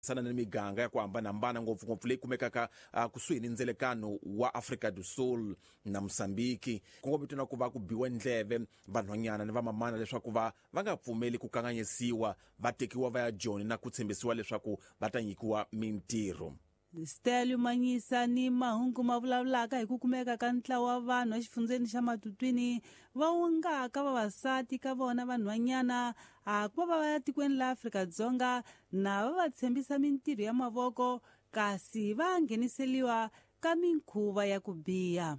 Sana ni miganga ya ku hambanahambana, ngopfungopfu leyi kumekaka kusuhi ni ndzelekano wa Afrika do Sul na Mosambiki. Kongometiwa na ku va ku biwa ndleve vanhwanyana ni vamamana leswaku va nga pfumeli ku kanganyisiwa, va tekiwa va ya Joni na ku tshembisiwa leswaku va ta nyikiwa mintirho. Stelio Manyisa ni mahungu ma vulavulaka hi ku kumeka ka ntlawa wa vanhu exifundzeni xa Matutwini va wongaka vavasati ka vona vanhwanyana a ku va va ya tikweni la Afrika-Dzonga na va va tshembisa mintirho ya mavoko, kasi va ngheniseliwa ka minkhuva ya ku biha.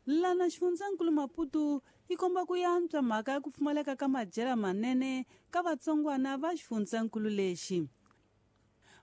Lana xifundzankulu Maputo yi komba ku yantswa mhaka ya ku pfumaleka ka madyela manene ka vatsongwana va xifundzankulu lexi.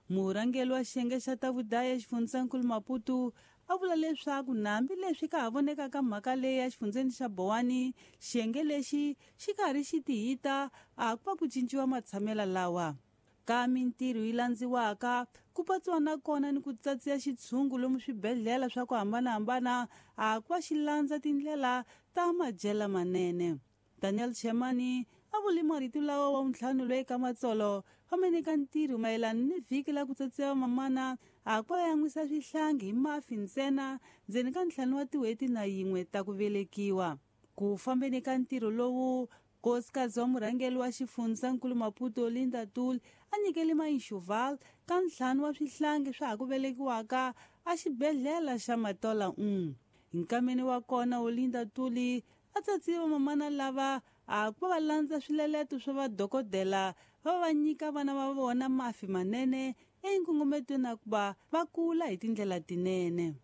Murhangeri wa xiyenge xa ta vudaya xifundzankulu Maputo a vula leswaku nambi leswi ka ha vonekaka mhaka leyi ya xifundzeni xa Bowani, xiyenge lexi xi karhi xi tihita a ku va ku cinciwa matshamela lawa. Ka mintirho yi landziwaka ku patsiwa na kona ni ku tsatsiya xitshungu lomu swibedhlele swa ku hambanahambana a ku va xi landza tindlela ta madyela manene. Daniel Chemani a vule marito lawa wa ntlhanu loyi ka matsolo famene ka ntirho mayelana ni vhiki la ku tsatsiwa mamana a ku va yan'wisa swihlangi hi mafi ntsena ndzeni ka 5 wa tin'hweti na yin'we ta ku velekiwa. Ku fambeni ka ntirho lowu, nkosikazi wa murhangeri wa xifundzankulu Maputo Linda Tuli a nyikele Enshoval ka 5 wa swihlangi swa ha ku velekiwaka a xibedhlele xa Matola 1. Nkameni wa kona Olinda Tuli a tsatsiwa mamana lava a ku va landza swileleto swa vadokodela va nyika vana va vona mafi manene enkongometweni na ku va va kula hi tindlela tinene.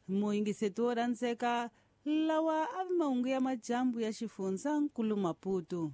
Muyingiseti wo rhandzeka, lawa a vi mahungu ya madyambu ya xifundzankulu Maputo.